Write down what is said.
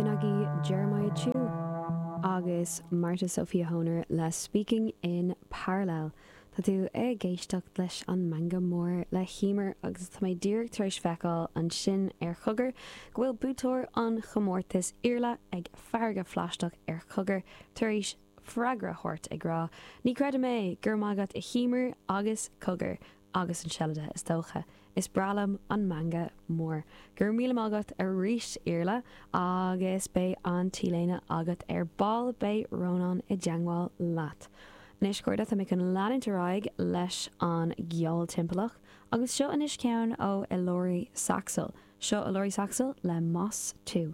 B'in agaibh Jeremiah Chiu agus Marta Sofia Honer le Speaking in Parallel. Tá tú ag éisteacht leis an Meangadh Mór le hEmer agus tá mé díreach tar éis feiceáil ansin ar Chogar go bhfuil buaiteoir an chomórtais Iarla ag Farraige Phlaisteach ar Chogar tar éis freagra a thabhairt ag rá Ní chreidim é! Go raibh maith agat a Emer agus Cogar agus an Seilide is dócha. Is breá liom an Meangadh Mór. Go raibh míle maith agat arís Iarla agus beidh an t-léine agat ar ball, beidh Rónán i dteangmháil leat. Anois a chairde, tá mé chun leanúint ar aghaidh leis an gceol timpeallach agus seo anois ceann ó Elori Saxl. Seo Elori Saxl le Más Tú.